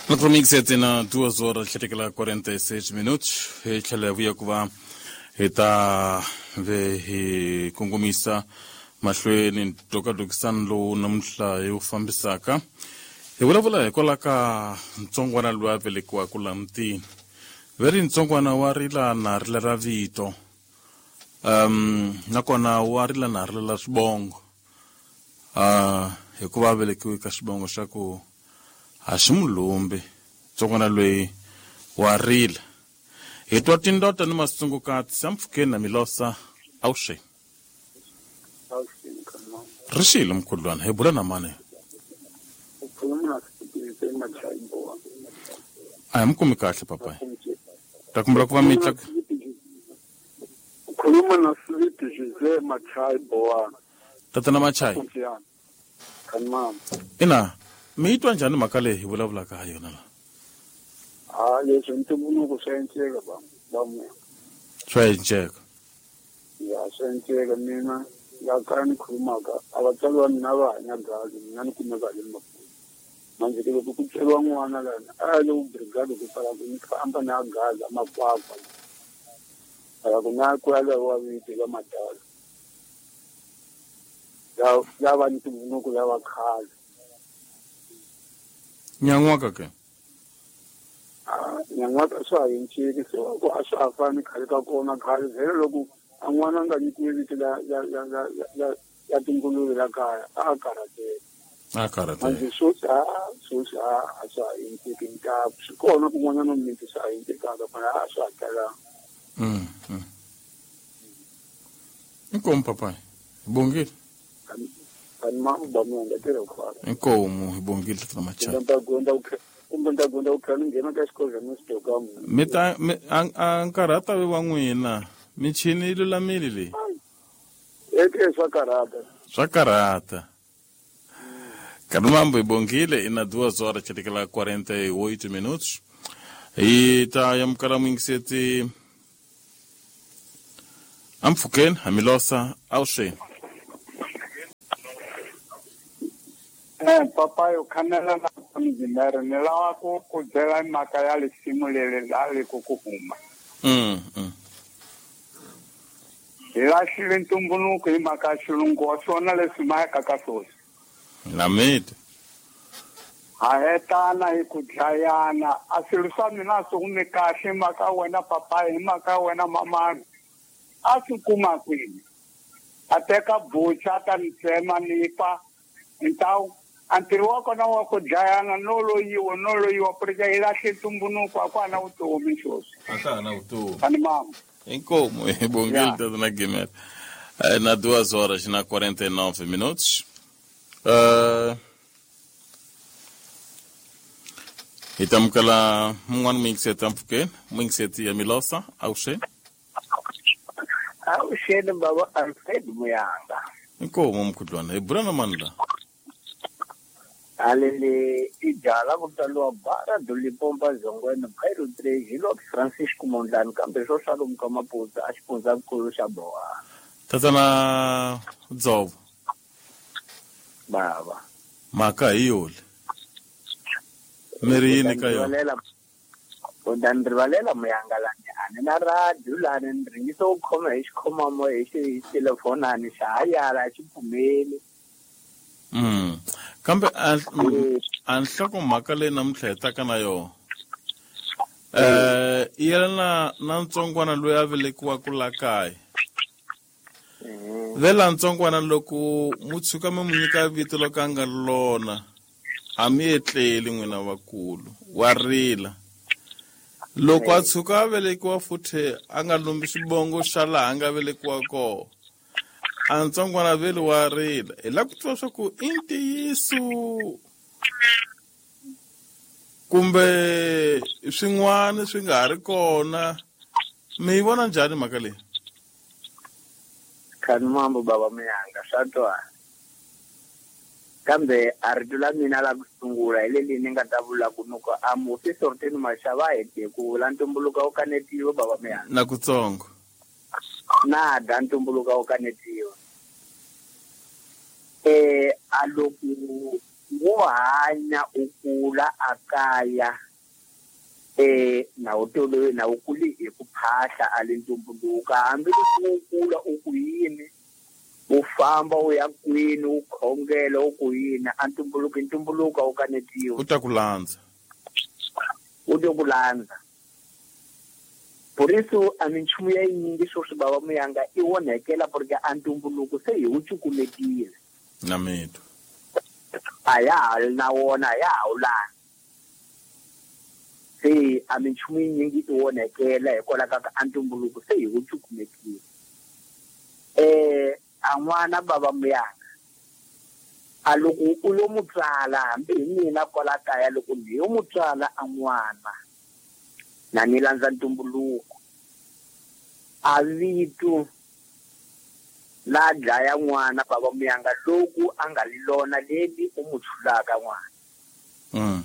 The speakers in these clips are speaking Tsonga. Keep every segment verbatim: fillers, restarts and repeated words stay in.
Naturalmente na duas horas quarenta e seis minutos hi tlhela hi vuya ku va hi ta ve hi kongomisa mahlweni ntokatokisano lowu namuntlha hi wu fambisaka hi vulavula hikwalaho ka ntsongwana loyi a velekiwaka laha mutini ve ri ntsongwana wa rila na rila ra vito um nakona wa rila na rila la swivongo uh hikuva a velekiwe ka xivongo xa ku a xi mulumbi ntsongwana loyi wa rila hi twa tindota ni masungukati sampfukeni na milosa awuxe ri xile mkhudlwana hi bula na mani a hi mi kumi kahle papayi ta kumbela ku va mi tla khuluma na Sweet Jose Machai Bowana tatana Machai ina mi yi twa njhani mhaka leyi hi vulavulaka ha yona la a leswi ntumbuluko swa enceka va va swa enceka ya swa enceka mina la kaya ni khulumaka a vatswari va mina va hanya gazi mina ni kumeka le Maputo manje ke loko ku tsweriwa n'wana lana a ya le vubrigade ku pfala ku ni famba na gaza makwakwa ala ku na ku ya wa vito la madala ya ya va ntumbuluko ya va khale nyan'waka ke a nyan'waka swa ha enceki se ku a swa ha fani khale ka kona khale vhele loko a n'wana a nga nyikiwi vito la la la la la la tinguluve la kaya a karhateka a karhateka manje sweswi a sweswi a a swa ha enceki ntaku swi kona kun'wanyana miti swa ha encekaka mara a swa ha talanga mm mm inkomu papayi hi bongile inkomu hi bongile tatana Machai mi ta mi a nkarhi a ta ve wa n'wina michini yi lulamile leyi swa karhata swa karhata Caramba, hi bongile ina duas horas chetikela quarenta e oito minutos hi ta yamukela muyingiseti ampfukeni hamilosa awuxeni Eh, papayi u khanela na mjimere ni lava ku ku byela mhaka ya lisimu leri la ri ku ku huma mm, mm. hi lahlile ntumbuluko hi mhaka ya xilungu wa swona leswi mayaka ka swoswi namiti ha hetana hi ku dlayana a swilo swa mina a swi humi kahle hi mhaka wena papayi hi mhaka wena mamani a swi kuma kwini a teka bucha a ta ni tsema ni fa ntawu a ntirho wa kona wa ku dlayana no loyiwa no loyiwa purika hi lahle ntumbuluko a ku ha na vutomi sweswi a ka ha na vutomi ani mama inkomu hi bongile tatana Gimel na duas horas na quarenta e nove minutos uh, hi ta amukela mun'wana muyingiseti ampfukeni muyingiseti ya milosa awuxeni awuxeni baba Alfred Muyanga inkomu mkhudlwana hi bula na mani la alele i jala ku tsaliwa bara Dulipompa Zongweni Bhairo three hi Lord Francisco Mondlane kambe swo swa ka Maputo a xifundzankulu xa Boha tatana Dzovo baba mhaka hi yoli mi ri yini ka yona u ta ni rivalela Muyanga lani a ni na radio lani ni ringisa ku khoma hi xikhomamo hi xi telefonani xa ha yala a xi pfumeli mm kambe a a nhlokomhaka leyi namuntlha hi taka na yona eh i yelana na ntsongwana loyi a velekiwaka la kaya vela ntsongwana loko mu tshuka mi mu nyika vito loko a nga lona a mi etleli n'wina vakulu wa rila loko a tshuka a velekiwa futhi a nga lumbi xivongo xa laha a nga velekiwa kona a ntsongwana veli wa rila hi lava ku tiva swa ku i ntiyiso kumbe swin'wana swi nga ha ri kona mi yi vona njhani mhaka leyi khani mambo baba Muyanga swa twana kambe a rito la mina la ku sungula hi leli ni nga ta vula ku nuko a mufi Sorteni Mashava a hete ku vula ntumbuluko wu kanetiwa baba Muyanga na kutsongo na da ntumbuluko wu kanetiwa eh a loko Wo hanya u kula a kaya eh na u tolowe na u kuli hi ku phahla a le ntumbuluko hambi loko u kula u ku yini u famba u ya kwini u khongela u ku yini a ntumbuluko ntumbuluko a wu kanetiwi u ta ku landza u ta ku landza Por isso a minchumu ya yinyingi sweswi bava muyanga i onhekela porque a ntumbuluko se hi wu cukumetile na mito a ya ha ri na wona a ya ha wu landzi se a minchumu yinyingi i onhekela hikwalaho ka a ntumbuluko se hi wu cukumetile eh a n'wana bava muyanga a loko u lo mu tswala hambi hi mina kwala kaya loko ni yo mu tswala a n'wana na ni landza ntumbuluko a vito la dlaya n'wana bava muyanga loku a nga li lona leli u mu tshulaka n'wana mm.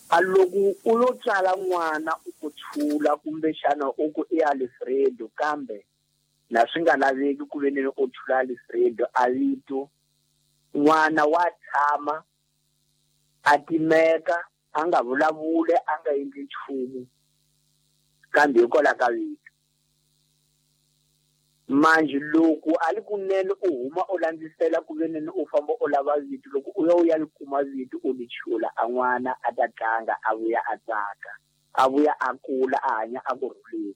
a loko u lo tswala n'wana u ku tshula kumbexana u ku i Alfredo kambe na swi nga laveki ku ve ni u tshula Alfredo a vito n'wana wa tshama a timeka a nga vulavuli a nga endli nchumu kambe hikwalaho ka vito manje loko a li kunene u huma u landzisela ku ve nini u famba u lava vito loko u ya u ya li kuma vito u li chula a n'wana a ta tlanga a vuya a tsaka a vuya a kula a hanya a ku rhuleni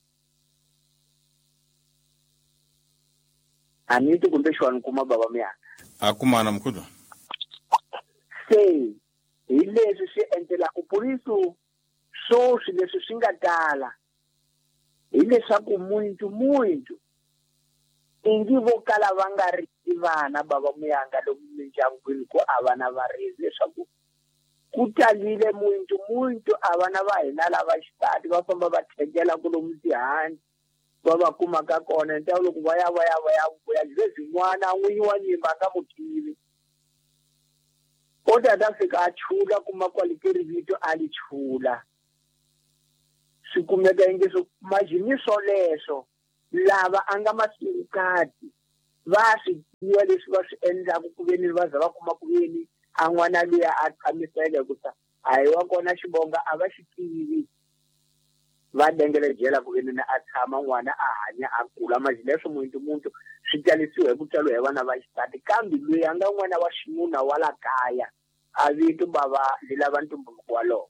a ni ti kumbe xona kuma bava muyanga a kumana mkhulu se hi leswi swi endlelaka por isso swoswi leswi swi nga tala hileswaku muntu muntu ingi vo kala va nga ri vana bava muyanga lomu mindyangwini ku a vana va ri leswaku ku talile muntu muntu a vana va hina lava xisati va famba va thengela ku lomu tihanci va va kumaka kona ntawu loko va ya va ya va ya vuya leswi n'wana n'winyi wa nyimba a nga mu tivi o ta ta fika a chula kuma kwale ke ri vito a li chula swi kumeka inge swo majini swoleswo lava a nga masukati va swi tiva leswi va swi endlaku ku ve ni va za va kuma ku ve ni a n'wana luya a tshamiseke ku sa a hi wa kona xivonga a va xi tivi va dengele jela ku ve ni a tshama n'wana a hanya a kula manje leswo muntu muntu swi talisiwa hi ku tswariwa hi vana va xisati kambe loyi a nga n'wana wa xinuna wa la kaya a vito bava li lava ntumbuluko walowo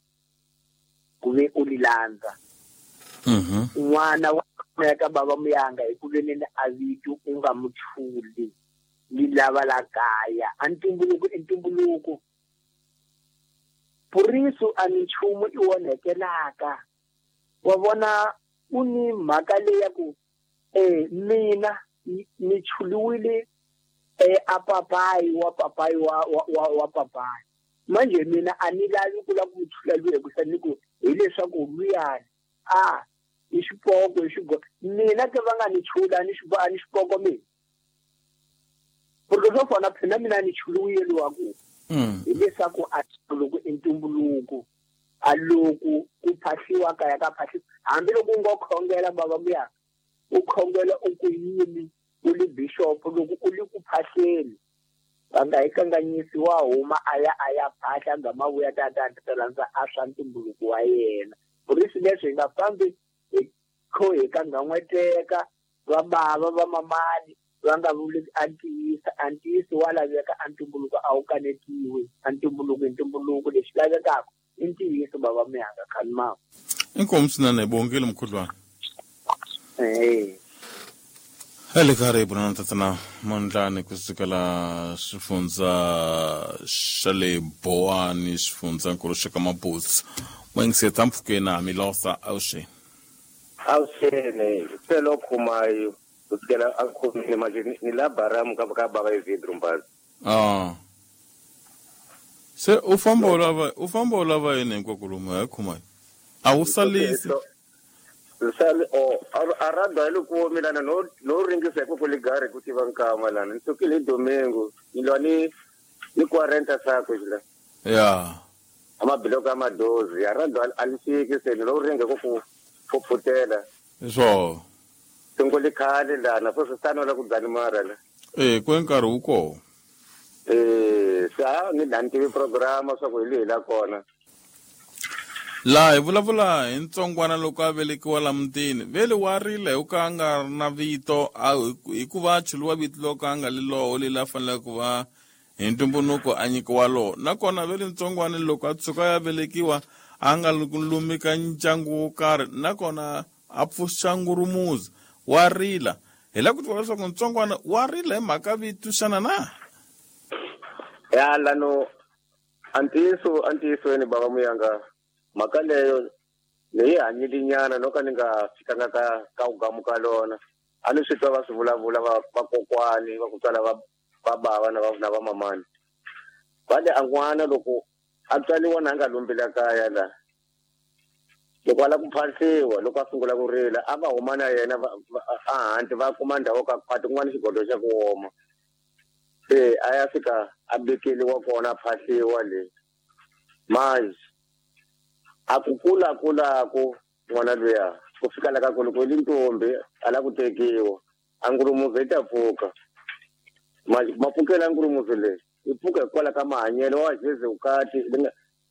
ku ve u li landza n'wana wa kumeka bava muyanga hi ku ve ni a vito u nga mu chuli li lava la kaya a ntumbuluko i ntumbuluko por isso a minchumu i onhekelaka wa vona u ni mhaka leyi ya ku eh mina ni chuliwile eh a papayi wa papayi wa wa wa papayi manje mina a ni lavi ku lava ku chula luya ku ni ku hileswaku luyani a i xipoko i xigo mina ke va nga ni chula ni xibo a ni xipoko mina porque swo fana phela mina ni chuliwile luwa ku hileswaku a loko i ntumbuluko a loko ku phahliwa kaya ka phahliwa hambi loko u ngo khongela bava muyanga u khongela u ku yini u li bishop loko u li ku phahleni va nga hi kanganyisi wa huma a ya a ya phahla nga mavuya ta ta ta landza a swa ntumbuluko wa yena por isso leswi hi nga fambi hi kho hi kanganyeteka va bava va mamani va nga vuli a ntiyisa a ntiyiso wa laveka a ntumbuluko a wu kanetiwi a ntumbuluko i ntumbuluko lexi lavekaka i ntiyiso bava muyanga khani inkomu swinene bongile mkhudlwana eh hele karibu na tatana Mondlane kusukela xifundza xa le Bowani xifundzankulu xa ka Mabuza n'wingiseta mpfhukeni a Milosa awuxeni awuxeni selo khumayo kusukela a khomile manje ni la baramu ka ka baba evidro mbazi ah se u famba u lava u famba u lava yini hinkwako lomu hi khumayo a wu salisi sali o arada ile ku milana no no ringisa ku kuligare ku tiva nkama lana ni sukile domingo ni lwa ni ni quarenta sako jila ya amabiloko amadozi arada alisiki se no ringa ku ku so singoli khale lana so swi tano la ku dzani mara la eh ku nkarhi wu kona Eh sa ni lantivi programa swa ku hi lehi la kona. Laha hi vulavula hi ntsongwana loko a velekiwa la mutini vele wa rila hi ku a nga ri na vito hikuva a chuluwa vito loko a nga li loho leli a faneleke ku va hi ntumbuluko a nyikiwa loho nakona vele ntsongwana loko a tshuka ya velekiwa a nga lumi ka ndyangu wo karhi nakona a pfuxa ngurumuzi wa rila hi lava ku tiva leswaku ntsongwana wa rila hi mhaka vito xana na ya lano antiso antisweni baba muyanga mhaka leyo leyi hanyilinyana no ka ni nga fikanga ka ka ugamuka lona a ni swi twa va swi vulavula va vakokwani va ku tswala va va bava na va na va mamani va le a n'wana loko a tswaliwa na a nga lumbila kaya la loko a lava ku phahliwa loko a sungula ku rila a va huma na yena a handle va kuma ndhawu ka khwati kun'wana xigodo xa ku oma se a ya fika a bekeliwa kona a phahliwa le manje a ku kula kulaku n'wana luya ku fika la ka ku loko i ntombi a lava ku tekiwa a ngurumuzi yi ta pfuka mapfukela ngurumuzi leyi yi pfuka hikwalaho ka mahanyelo wa jeze vukati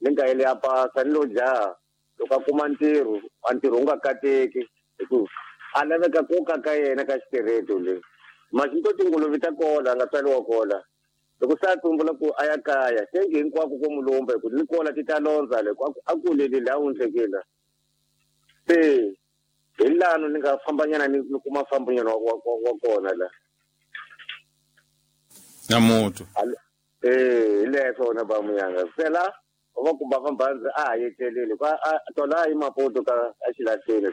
li nga yele ya pasa ni lo jaha loko a kuma ntirho a ntirho wu nga kateki hi ku a laveka ku ka ka yena ka xitereto le manje to tinguluve ta kola a nga tswariwa kola loko se a tumbula ku a ya kaya tengi hinkwako ko mulumba hi ku ni kola ti ta londza le a kuleli laha wundlekela se hi lano ni nga fambanyana ni ni kuma fambanyana wa wa kona la na mutu eh hi leswo na ba muyanga sela va kumba famba a ha yetlelile ka tola hi Maputo ka a xilahleni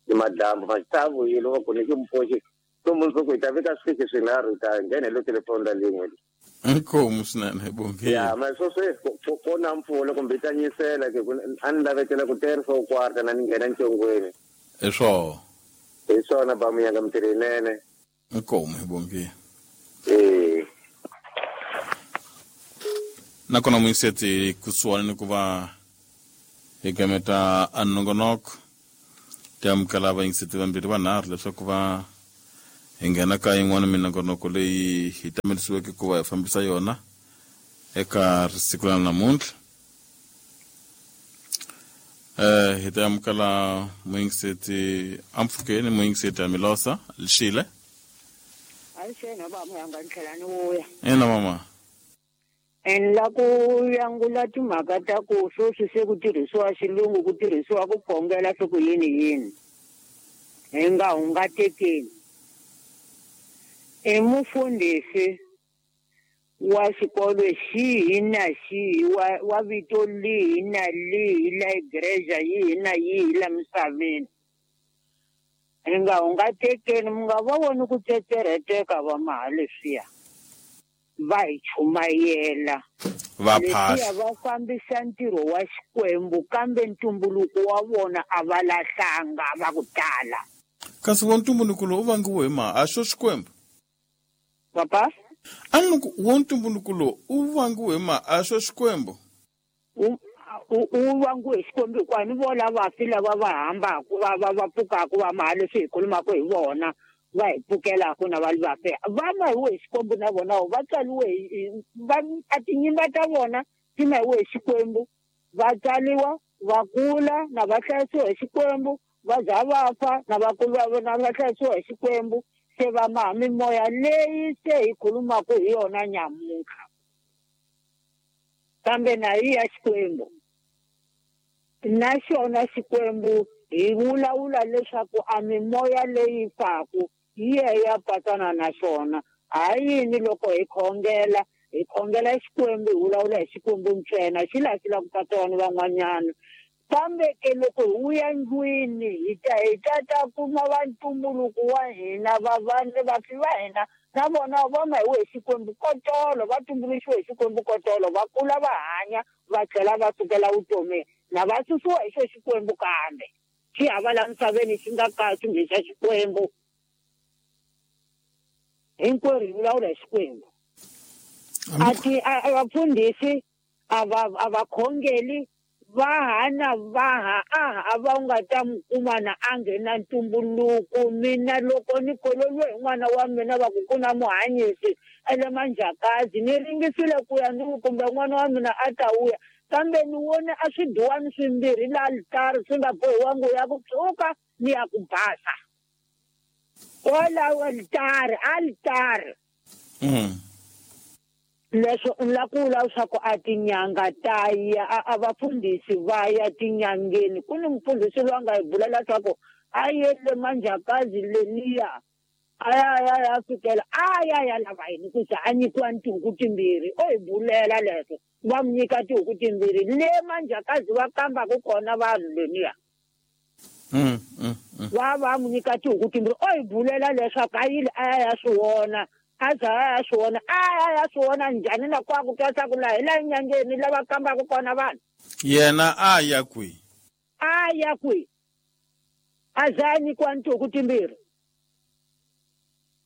ni madlambu ma ta vuyile va ku ni ki mpoxi to mundzuku hi ta veka swiki swinharhu hi ta nghena hi lo telefoni la lin'we inkomu swinene hi bongile ya ma swo sweswi ko na mpfula kumbe yi ta nyisela ke a ni lavetela ku terisa u kwarta na ni nghena ncongweni hi swoho hi swona ba muyanga mintirho yinene inkomu hi bongile eh nakona muyiseti kusuhani ni ku va hi gameta a nongonoko ti amukela vayingiseti vambirhi vanharhu leswaku va hi nghena ka yin'wana minongonoko leyi hi tamelisiweke ku va hi fambisa yona eka siku ra namuntlha eh hi ta amukela muyingiseti ampfukeni muyingiseti Amilosa Lishile Ayixena ba muyanga ni tlhela ni vuya ina mama en la ku yangula timhaka ta ku sweswi se ku tirhisiwa xilungu ku tirhisiwa ku khongela swi ku yini yini hi nga hungatekeni i mufundhisi wa xikolo xihi na xihi wa wa vito lihi na lihi la igreja yihi na yihi la misaveni hi nga hungatekeni mi nga va voni ku tsetsereteka va maha leswiya va hi chumayela va phahla va fambisa ntirho wa Xikwembu kambe ntumbuluko wa vona a va lahlanga va ku tala kasi wa ntumbuluko lowu u vangiwe hi ma a xo Xikwembu papa a ni ku wa ntumbuluko lowu u vangiwe hi ma a xo Xikwembu u u vangiwe hi Xikwembu hikuva ni vona vafi lava va hambaka va va va pfukaka va maha leswi hi khulumaka hi vona va hi pfukelaka na va vafe va mahiwe hi Xikwembu na vona va tswaliwe hi va a tinyimba ta vona ti mahiwe hi Xikwembu va tswaliwa va kula na va hlayisiwa hi Xikwembu va za va fa na va kula na va hlayisiwa hi Xikwembu se va maha mimoya leyi se hi khulumaka hi yona nyamuntlha kambe na yi ya Xikwembu na xona Xikwembu hi vulavula leswaku a mimoya leyi faku yi ya ya patsana na xona ha yini loko hi khongela hi khongela Xikwembu hi vulavula hi Xikwembu ntsena xi laha xi lava ku patsana ni van'wanyana kambe ke loko hi vuya ndlwini hi ta hi ta ta kuma va ntumbuluko wa hina va va vafi va hina na vona va mahiwe hi Xikwembu kotolo va tumbuluxiwe hi Xikwembu kotolo va kula va hanya va tlhela va sukela vutomini na va susiwa hi xo Xikwembu kambe xi hava la misaveni xi nga ka xi nge xa Xikwembu hinkwerhu hi vulavula hi Xikwembu a ti a vafundhisi a va a va khongeli Vaha na vaha a hava u nga ta mi kuma na a nghena ntumbuluko. Mina loko ni kololiwe hi n'wana wa mina va ku ku na muhanyisi ele Manjakazi, ni ringisile ku ya ni ku kumbe n'wana wa mina a ta vuya, kambe ni vone a swiduwani swimbirhi la alitari swi nga bohiwangi ya ku tshuka ni ya ku basa kwalaho alitari alitari. Mm. Leswo ni la ku vula leswaku a tinyanga ta ya a vafundhisi va ya tinyangeni. Ku ni mufundhisi loyi a nga hi bulela leswaku a yele Manjakazi leniya a ya ya ya fikela a ya ya lava yini ku za a nyikiwa ni tihuku timbirhi. O hi bulela leswo va mi nyika tihuku timbirhi le Manjakazi va kambaka kona vanhu leniya. Mm, mm, mm. Va va mu nyika tihuku timbirhi. O hi bulela leswaku a yile a ya ya swi vona, a za a ya swi vona, a ya ya swi vona njhani na kwa ku twa swa ku laha hi la nyangeni lava kambaka kona vanhu. Yena a ya kwihi? A ya kwihi? A za a nyikiwa ni tihuku timbirhi.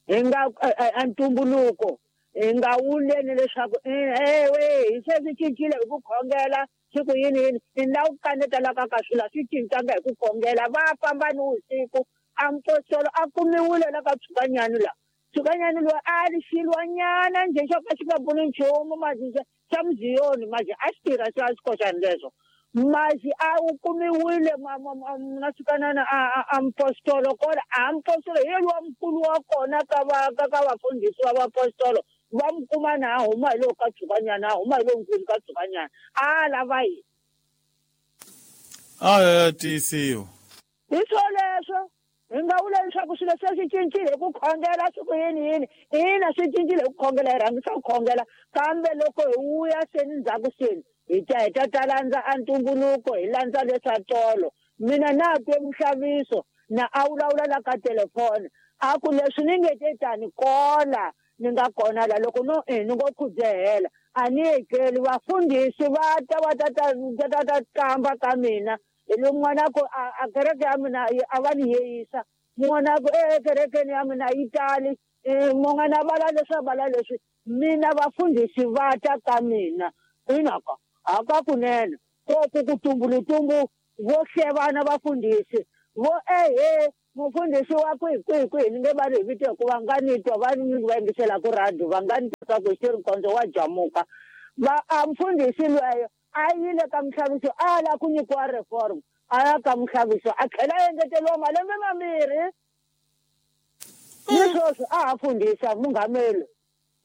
Hi nga a ntumbuluko hi nga wuleni leswaku ewe hi se swi cincile hi ku khongela siku yini yini. Ni la ku kaneta la ka ka swilo a swi cincanga hi ku khongela. Va famba ni vusiku a mpostolo a kumiwile la ka Tshukanyani la. Tshukanyani loyi a ri xilwanyana njhe xo ka xi nga pfuni nchumu masi xa muziyoni masi a xi tirha xa xikoxani leswo. Masi a wu kumiwile na Tshukanana a a mpostolo kona a mpostolo hi yena wa mukulu wa kona ka va ka ka vafundhisi va vapostolo va mu kuma na a huma hi lowu ka Tshukanyana, a huma hi lowu nkulu ka Tshukanyana a lava yini? A ya tiyisiwa hi swo leswo. Hi nga vula leswaku swilo se swi cincile hi ku khongela siku yini yini. Ina swi cincile hi ku khongela, hi rhangisa ku khongela, kambe loko hi vuya seni ndzhaku seni hi ta hi ta ta landza a ntumbuluko, hi landza leswa tolo. Mina na twe muxaviso na a vulavula la ka telefoni a ku leswi ni nge te tani kola ni nga kona la loko no e ni ngo khudzehela a ni yekeli vafundhisi va ta va ta ta ta ta kamba ka mina. Hi lo n'wana ku a kereke ya mina a va ni yeyisa, n'wana ku e kerekeni ya mina yi tali, mun'wana vala leswi a vala leswi, mina vafundhisi va ta ka mina. Inaka haka kunene ko ku ku tumbulutumbu vo hlevana vafundhisi vo ehe mufundhisi wa kwihi kwihi kwihi ni nge va ri hi vito hikuva nga ni twa va ni va yingisela ku radio va nga ni twa ku xi ri nkondzo wa jamuka. Va a mufundhisi lweyo a yile ka muxaviso a la ku nyikiwa reform, a ya ka muxaviso a tlhela a engeteriwa malembe mambirhi ni sweswi a ha fundhisa munghameli.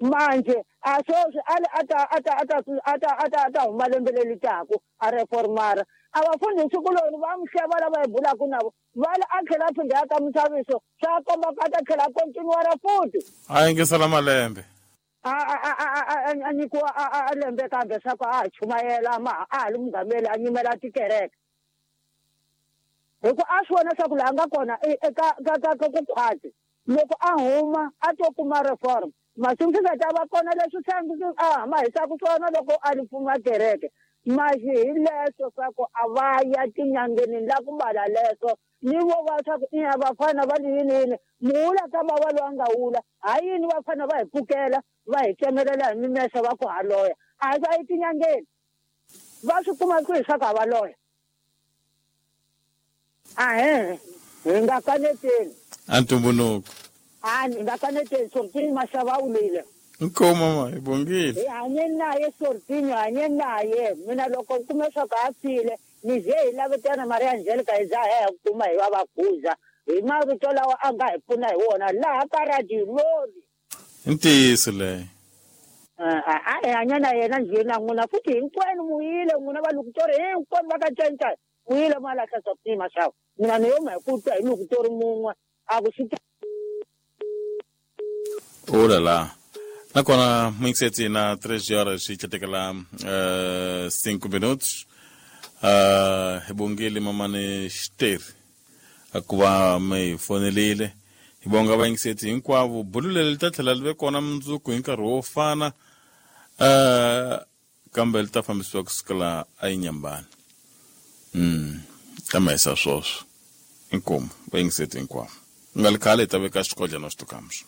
Manje a sweswi a a ta a ta a ta a ta a ta a ta huma lembe leri taku a reformara. A vafundhisi kuloni va mu hleva lava hi bulaka na vo va a tlhela a phinda ya ka muxaviso swa komba ku a ta tlhela a continuara futhi a yingisela malembe a a a a a nyikiwa a lembe kambe swa ku a ha chumayela ma a ha li munghameli a nyimela tikereke hi ku a swi vona swa ku laha nga kona eka ka ka ka ku khwati loko a huma a to kuma reform masiku swi nga ta va kona leswi a ma hisaka swona loko a ri pfuma kereke. Masi hi leswo swa ku a va ya tinyangeni la ku mbala leswo ni vo va swa ku ina vafana va yini yini muwula ka va va loyi a nga wula ha yini vafana va hi pfukela va hi tsemelela hi mimese va ku ha loya a va yi tinyangeni va swi kuma kwihi swa ku ha va loya. Ahe hi nga kaneteni a ntumbuluko a hi nga kaneteni Sortini Mashava a wulile. Inkomu mama, hi bongile. Hi hanye naye Sortini, hanye naye mina loko u kume swa ku a file ni ze hi lavetana Maria Angelica hi za hi kuma hi va va khuza hi mavito lawa a nga hi pfuna hi wona laha ka radio loli. I ntiyiso leyo. A hi hanya na yena njhe na n'wina futhi hinkwenu muyile n'wina va Lukutori hinkwenu va ka Nchenchana muyile ma lahla Sortini Mashava. Mina ni yo ma hi ku twa hi Lukutori mun'we a ku swi. Oh la la. Nakona mixeti na três horas e katekela uh, cinco minutos. Uh, hi bongile mamane Xiteri akuva mi fonelile. Hi bonga vayingiseti hinkwavo. Bulu leri ta tlhela li ve kona mundzuku hi nkarhi wo fana, uh, kambe li ta fambisiwa kusukela eNyambani. Mm, ta ma hisa swoswo. Inkomu vayingiseti hinkwavo. Nga li khale hi ta veka xikodlana xitukamuxo.